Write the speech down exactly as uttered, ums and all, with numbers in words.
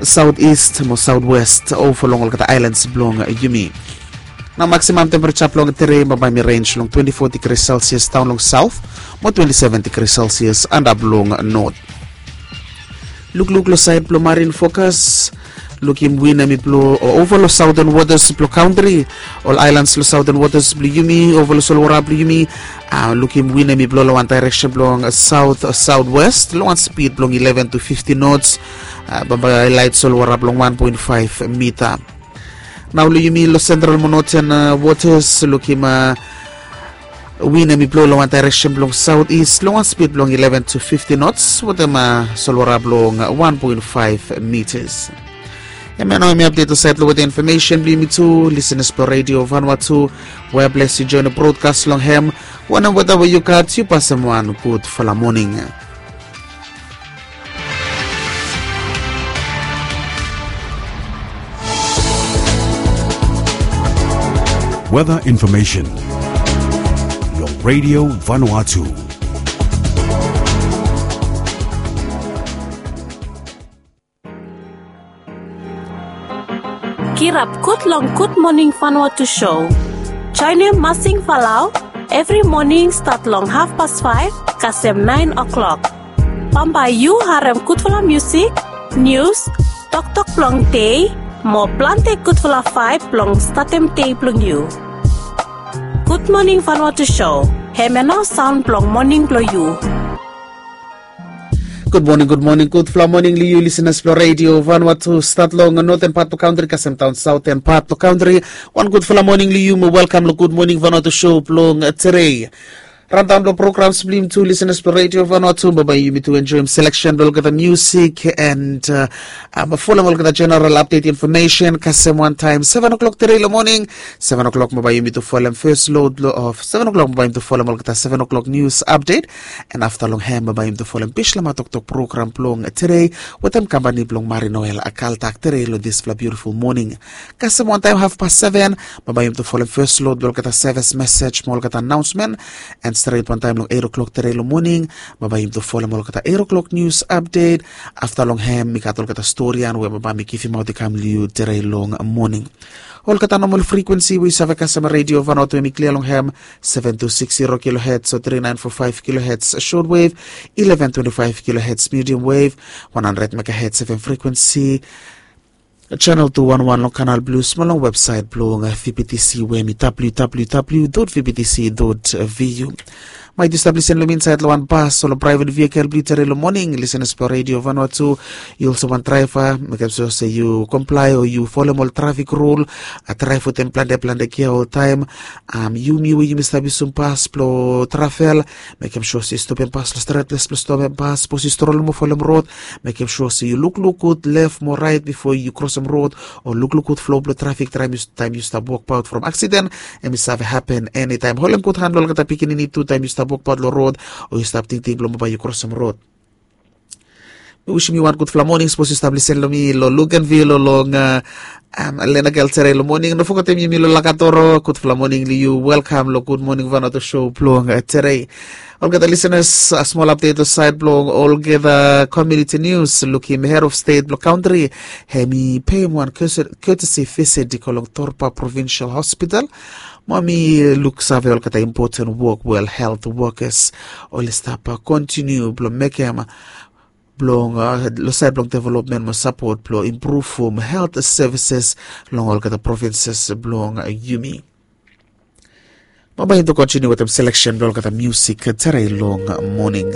Southeast mo Southwest, ova long olgeta ailans blong yumi. Nao maksimam tempereja blong tere bambae mi renj long twenti fo digri selsias daon long saut mo twenti seven digri selsias antap long not. Lukluk long saed blong marin fokas. Lukim win em i blo ova long sauten wotas blong kantri. Ol ailans long sauten wotas blong yumi ova long solwara blong yumi. Lukim win em i blo long wan daereksen blong saut sautwest long wan spid blong eleven to fifti nots. Bambae laet solwara blong wan poen faef mita. Nao long yumi long sentral mo noten wotas lukim win em i blo long wan daereksen blong sautist long wan spid blong eleven to fifti nots wetem solwara blong wan poen faef mitas. Em ya nao em i apdet olsait long weta infomesen blong yumi tu lisenas blong redio vanua tu. We bles yu joen brodkas long hem. Wanem weta we yu gat yu pasem wan gudfala moning. Weather information long Radio Vanuatu. Kirap gud long Gud Moning Vanuatu Show. Joenem Masing Falau evri moning stat long hafpas faef kasem naen o'klok. Bambae yu harem gudfala musik, nius, toktok blong dei mo plante gudfala vaeb blong statem dei blong yu. Gud Moning Vanuatu Show, hemia nao saon blong moning blong yu. Gud moning, gud moning, gudfala moning long yu lisenas blong redio Vanuatu stat long noten pat blong kantri kasem daon saoten pat blong kantri. Wan gudfala moning long yu mo welkam long Gud Moning Vanuatu Show blong tere. Randaon blong programs blong yumi tu lisenas blong redio Vanuatu bambae yumi tu enjoem seleksen blong olgeta musik and folem olgeta jeneral apdet infomesen kasem wantaem seven o'klok tere long moning. Seven o'klok bambae yumi tu folem fes lod blong of seven o'klok bambae yumi tu folem olgeta seven o'klok nius apdet. And afta long hem bambae yumi tu folem bislama toktok program blong tere wetem kampani blong marinoel akaltak tere long disfala biutiful moning. Kasem wantaem hafpas seven bambae yumi tu folem fes lod blong olgeta sevis mesej mo olgeta anaonsmen. And stret wantaem long eit o'klok tere long moning bambae yumi tu folem olgeta eit o'klok nius apdet. Afta long hem mi gat olgeta storian we bambae mi givimaot i kam long yu tere long moning. Olgeta nomol frikwensi we yu save kasem redio vanot we mi klia long hem seven two six zero kilohets o three nine four five kilohets short wave, eleven twenty five kilohets medium wave, one hundred megahertz fm frikwensi, channel two one one long kanal blus mo long websaet blong vptc we mi www vptc vu. Maet yu stap lisen long mi insaet long wan bas o long praevet vikel blong yu tere long moning lisenas blong redio vanua tu. Yu olsem wan draeva mekem sua se yu komplae o yu folem ol trafik rul. Draev wetem plante plante gia oltaem. Yumi we yumi stap yusum bas blong travel mekem sua se yu stopem bas long stret ples blong stopem bas sapos yu strolem o folem rod. Mekem sua se yu lukluk gud lef mo raet bifo yu krosem rod o lukluk gud flo blong trafik taem yu stap wokbaot from aksiden. Em i save hapen enitaem holem gud han long olgeta pikinini tu taem yu stap wokbaot long rod o yu stap tingting blong bambae yu krosem rod. Mi wisim yu wan gudfala moning sapos yu stap lisen long mi long lukenvil o long lenagel tere long moning no fogetem yumi long lakatoro gudfala moning long yu welkam long gud moning vanatu show blong tere. Olgeta lisenas, smol apdet long saed blong olgeta komiuniti nius lukim hed of stet blong kantri hem i peim wan ketesi visit i go long torpa provinsal hospital. Mo mi luksave olgeta impoten wok we ol helt wokas oli stap kontiniu blong mekem blong long saed blong developmen mo sapot blong impruvum helt sevises long olgeta provinses blong yumi. Bambae yumi tu kontiniu wetem seleksen blong olgeta musik tere long moning.